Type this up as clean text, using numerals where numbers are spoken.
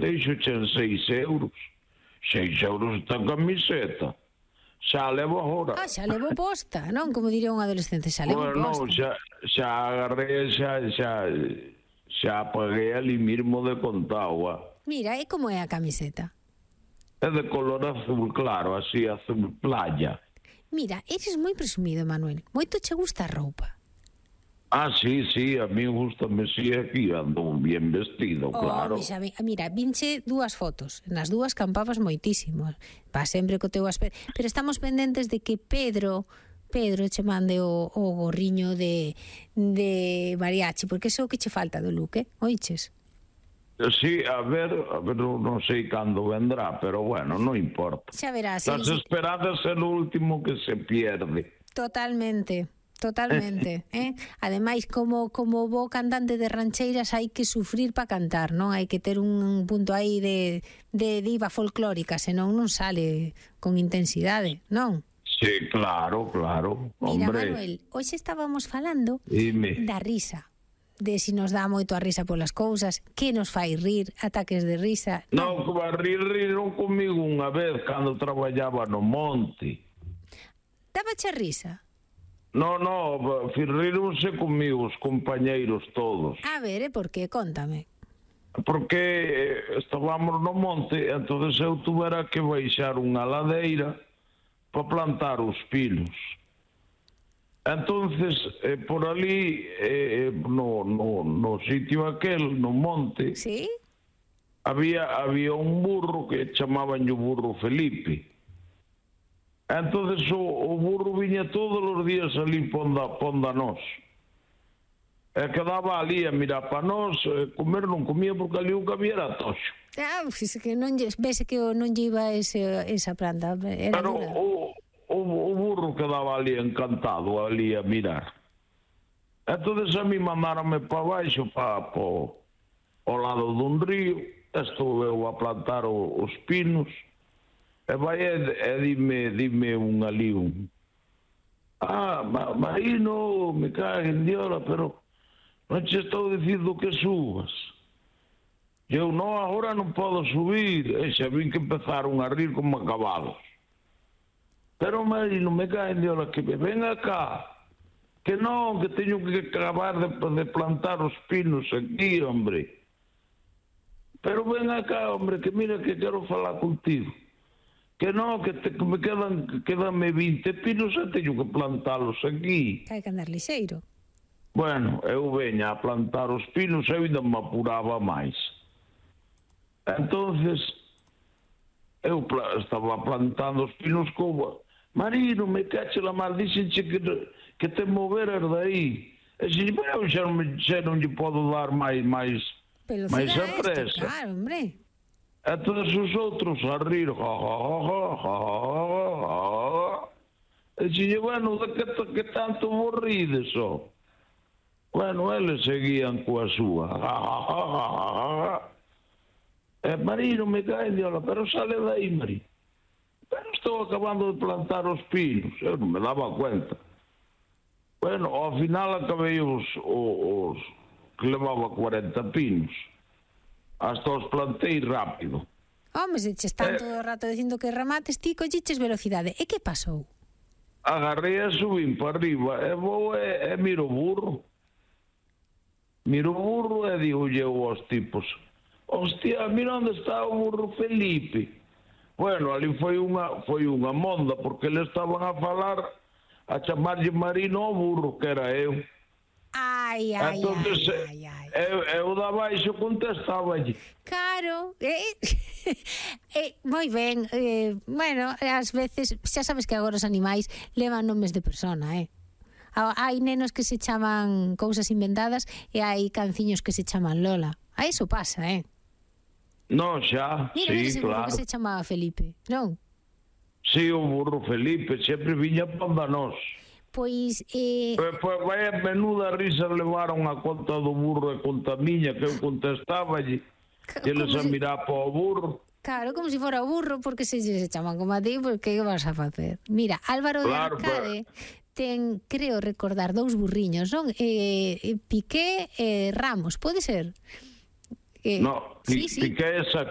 deixo en 6 euros. 6 euros esta camiseta. Xa levo agora. Xa levo posta, non? Como diría un adolescente, xa levo posta. Xa agarré, xa paguei ali mismo de contagua. Mira, e como é a camiseta? É de color azul claro, así, azul playa. Mira, eres moi presumido, Manuel. Moito che gusta a roupa. Sí, a mí gustame, sí, aquí ando bien vestido, claro. Mira, vinche 2 fotos. Nas 2 campabas moitísimo. Va sempre co teu aspecto. Pero estamos pendentes de que Pedro che mande o gorriño de mariachi, porque eso que che falta do look, oiches? Sí, a ver, non sei cando vendrá, pero bueno, non importa. Xa verás. Las esperanzas é o último que se pierde. Totalmente. Ademais, como bo cantante de rancheiras hai que sufrir para cantar, non? Hai que ter un punto aí de diva folclórica, senón non sale con intensidade, non? Sí, claro. Mira, hombre. Manuel, hoxe estábamos falando da risa, de si nos dá moito a risa polas cousas, que nos fai rir, ataques de risa. Non, como a riron comigo unha vez cando traballaba no monte. Dábache risa? No, rironse comigo os compañeiros todos. A ver, por qué? Cóntame. Porque estábamos no monte, entonces eu tuvera que baixar unha ladeira para plantar os pinos. Entonces, por ali, no sitio aquel, no monte, ¿sí? había un burro que chamaban o burro Felipe. Entonces o burro viña todos os días ali ponda nós. E quedaba ali a mirar para nós, comer non comía porque ali o que había era toxo. Que non vese que non lle iba esa planta. Pero o burro quedaba ali encantado, ali a mirar. Entonces a mí mandaronme para baixo, ao lado dun río, estou eu a plantar os pinos. E vai dime un ali Marino, me cague en diola, pero non che estou dicindo que subas. Eu non, agora non podo subir. E xa vin que empezaron a rir como acabados. Pero Marino, me cague en diola, que me ven acá. Que non, que teño que acabar de plantar os pinos aquí, hombre. Pero ven acá, hombre, que mira que quero falar contigo. Que non, que me quedanme 20 pinos e teño que plantalos aquí. Hai que andar lixeiro. Bueno, eu veña a plantar os pinos e eu ainda me apuraba máis. Entonces, eu estaba plantando os pinos como Marino, me cache la mal, dixenche que te moveras daí. E se eu xa non lle podo dar máis a presa. Claro, hombre. E todos os outros a rir. E dixen, bueno, de que tanto morrides, ó? Bueno, eles seguían coa súa. E Marino, me cae de ola, pero sale daí, Marino. Pero estou acabando de plantar os pinos. Eu non me daba cuenta. Bueno, ao final acabei os que levaba 40 pinos. Hasta os plantei rápido. Home, se che están todo o rato dicindo que remates, ti colliches velocidade. E que pasou? Agarrei e subín para arriba e vou e miro o burro. Miro o burro e digo eu aos tipos, hostia, mira onde está o burro Felipe. Bueno, ali foi unha monda, porque eles estaban a falar, a chamarlle Marino ao burro, que era eu. Ai. Eu da baixo contestaballe. Claro. Moi ben. Bueno, ás veces, xa sabes que agora os animais levan nomes de persona, Hai nenos que se chaman cousas inventadas e hai canciños que se chaman Lola. A eso pasa, Non, xa, sí, claro. Que se chamaba Felipe, non? Sí, o burro Felipe, sempre viña ponda nós. Pois... Pois vai a menuda risa levaron a conta do burro e conta miña, que eu contestaballe, e eles a mirar para o burro. Claro, como se fora o burro, porque se chaman como a ti, porque que vas a facer? Mira, Álvaro de Arcade ten, creo recordar, 2 burriños, non? Piqué e Ramos, pode ser? No, Piqué esa